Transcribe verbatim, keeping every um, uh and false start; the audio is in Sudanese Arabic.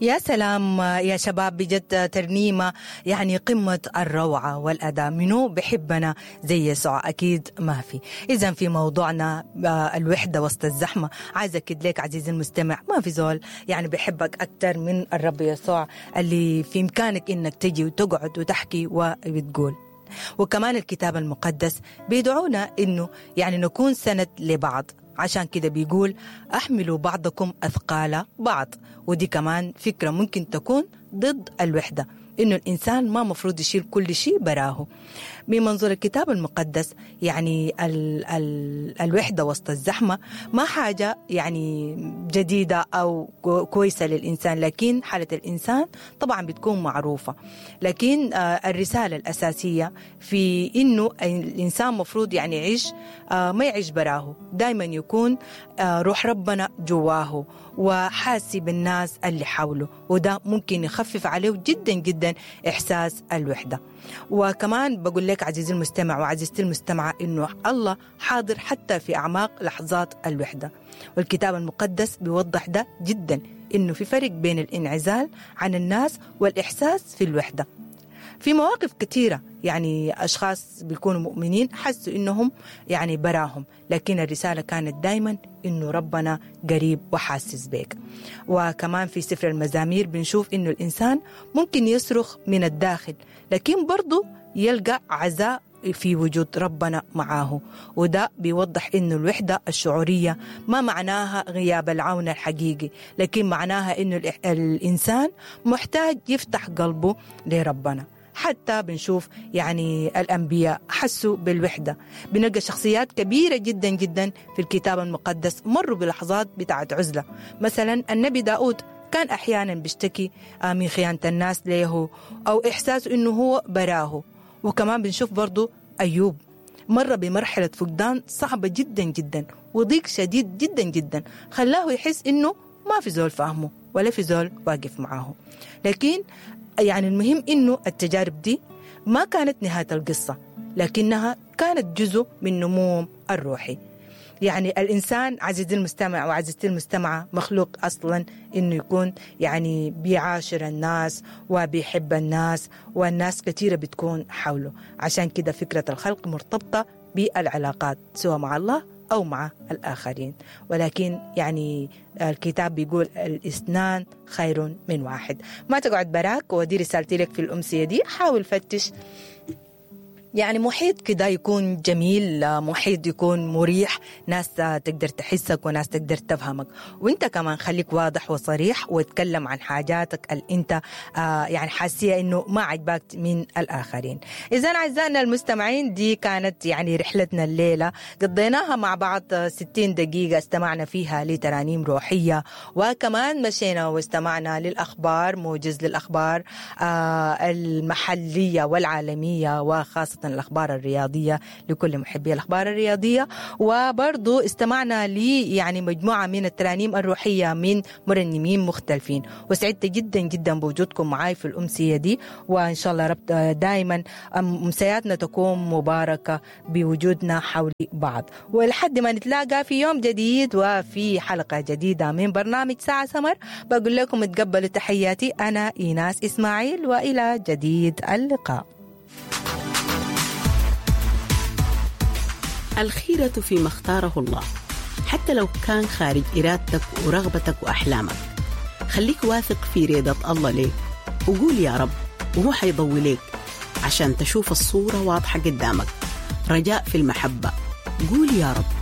يا سلام يا شباب، بجد ترنيمة يعني قمة الروعة والأداء. منو بحبنا زي يسوع؟ أكيد ما في. إذا في موضوعنا الوحدة وسط الزحمة، عايز أكد لك عزيزي المستمع ما في زول يعني بحبك أكتر من الرب يسوع اللي في إمكانك إنك تجي وتقعد وتحكي وبتقول. وكمان الكتاب المقدس بيدعونا إنه يعني نكون سند لبعض، عشان كده بيقول أحملوا بعضكم أثقال بعض. ودي كمان فكرة ممكن تكون ضد الوحدة، إنه الإنسان ما مفروض يشيل كل شيء براه. من منظور الكتاب المقدس يعني ال ال الوحدة وسط الزحمة ما حاجة يعني جديدة أو كويسة للإنسان، لكن حالة الإنسان طبعا بتكون معروفة. لكن الرسالة الأساسية في إنه الإنسان مفروض يعني يعيش، ما يعيش براه، دايما يكون روح ربنا جواه وحاسي بالناس اللي حوله، وده ممكن يخفف عليه جدا جدا إحساس الوحدة. وكمان بقول لك عزيزي المستمع وعزيزتي المستمعة إنه الله حاضر حتى في أعماق لحظات الوحدة، والكتاب المقدس بيوضح ده جدا، إنه في فرق بين الانعزال عن الناس والإحساس في الوحدة. في مواقف كثيرة يعني أشخاص بيكونوا مؤمنين حسوا إنهم يعني براهم، لكن الرسالة كانت دايما إنه ربنا قريب وحاسس بيك. وكمان في سفر المزامير بنشوف إنه الإنسان ممكن يصرخ من الداخل، لكن برضو يلقى عزاء في وجود ربنا معاه. وده بيوضح إنه الوحدة الشعورية ما معناها غياب العون الحقيقي، لكن معناها إنه الإنسان محتاج يفتح قلبه لربنا. حتى بنشوف يعني الأنبياء حسوا بالوحدة، بنلقى شخصيات كبيرة جدا جدا في الكتاب المقدس مروا بلحظات بتاعت عزلة. مثلا النبي داود كان أحيانا بيشتكي من خيانة الناس له أو إحساسه إنه هو براه. وكمان بنشوف برضو أيوب مر بمرحلة فقدان صعبة جدا جدا وضيق شديد جدا جدا، خلاه يحس إنه ما في زول فاهمه ولا في زول واقف معاه. لكن يعني المهم إنه التجارب دي ما كانت نهاية القصة، لكنها كانت جزء من نموهم الروحي. يعني الإنسان عزيزي المستمع وعزيزتي المستمعة مخلوق أصلا إنه يكون يعني بيعاشر الناس وبيحب الناس، والناس كثيرة بتكون حوله. عشان كده فكرة الخلق مرتبطة بالعلاقات سواء مع الله أو مع الآخرين. ولكن يعني الكتاب بيقول الاثنان خير من واحد. ما تقعد براك، ودي رسالتي لك في الأمسية دي. حاول فتش يعني محيط كده يكون جميل، محيط يكون مريح، ناس تقدر تحسك وناس تقدر تفهمك. وانت كمان خليك واضح وصريح وتكلم عن حاجاتك اللي انت آه يعني حاسية انه ما عجبك من الآخرين. إذن أعزائنا المستمعين دي كانت يعني رحلتنا الليلة، قضيناها مع بعض ستين دقيقة استمعنا فيها لترانيم روحية، وكمان مشينا واستمعنا للأخبار، موجز للأخبار آه المحلية والعالمية وخاصة الأخبار الرياضية لكل محبي الأخبار الرياضية. وبرضو استمعنا لي يعني مجموعة من الترانيم الروحية من مرنمين مختلفين. وسعدت جدا جدا بوجودكم معاي في الأمسية دي، وإن شاء الله رب دائما أمسياتنا تكون مباركة بوجودنا حول بعض. ولحد ما نتلاقى في يوم جديد وفي حلقة جديدة من برنامج ساعة سمر، بقول لكم تقبلوا تحياتي، أنا إيناس إسماعيل، وإلى جديد اللقاء. الخيرة فيما اختاره الله، حتى لو كان خارج إرادتك ورغبتك وأحلامك. خليك واثق في رضا الله ليك، وقول يا رب وهو حيضوي ليك عشان تشوف الصورة واضحة قدامك. رجاء في المحبة، قول يا رب.